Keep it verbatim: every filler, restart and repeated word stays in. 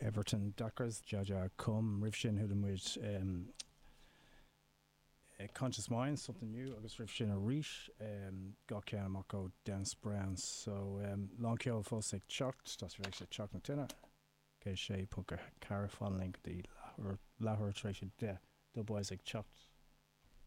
Everton Dockers Jah Come roimh sin chuala muid um, uh, Conscious Mind something new agus roimh sin arís um, gach ceann amach ó Dennis Brown so um, lán ceol fós ag teacht tá sé teach na tine cé sé ponc ceathair fan linn go dtí leathuair tar éis a deich Dubwise ag teacht.